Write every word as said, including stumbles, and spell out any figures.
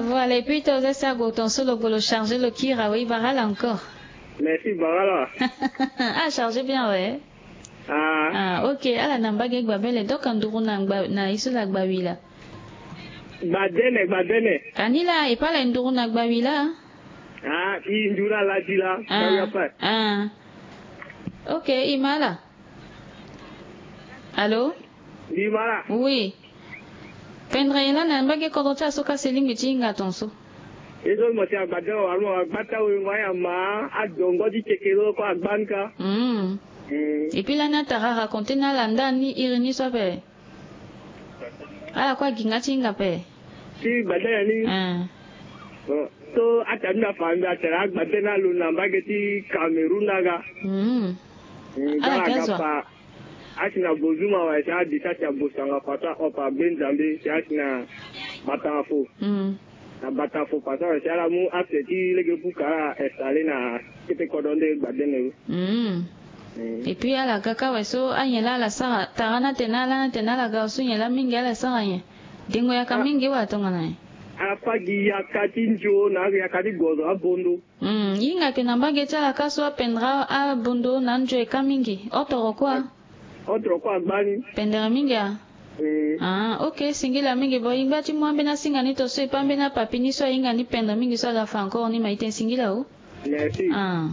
Voilà, et puis to zesta go ton solo golo chargé lo kira, oui, barala encore. Merci, barala. Ah, chargé bien, ouais. Ah. Ah, ok, ala na mbage gbabele, donc nduru na gba, na iso la gbawila. Gbadene, gbadene. Anila, e pala nduru na gbawila. Ah, i nduru ala dila. Ah, ah. Ok, imala. Allô? Ndimara. Oui. Pendre ye la na mbage kodro ti aso ka si lingbi ti hinga ton so. E so mo si agba dere wala mo agba ta wengo aya ma adongo ti kekere oko agba ni ka. Mm. Mm. Et puis lani atara raconter na ala ndani iri ni so ape. Ala kue aginga ti hinga ape. Ti gbadene ni. Ah. Bon. So ata ni na fa mbi atara agbadene alo na mbage ti Cameroun aga. Mm. Mm, ala ga ga zo pa. Asi na bozuma wa si adi sa si abosanga fata opa be Nzambe si asi na batanga fo. Mm. Na batanga fo pasa wa si ala mu ase ti lege buka ala installer na kete kodro nde gbadene ro. Mm. Mm. Et puis ala ga ka wa so anyen la ala sara tara na tena ala na tena ala ga so nyen la mingi ala sara nyen. Dengo yaka mingi wa tongana nyen. Ala fa gi yaka ti nzo na yaka ti gozo abondo. Mm, hinga ke na mbage ti ala ka so apendre abondo na nzo e ka mingi. Otoro kua. Otoro kua gbani. Pendere mingi a. Mm. Ah, ok, singila mingi bo. Ingba ti mu ambeni asinga ni to so e pa ambeni apapi ni so ahinga ni pendere mingi so aga fa encore ni ma ite singila o. Merci. Ah.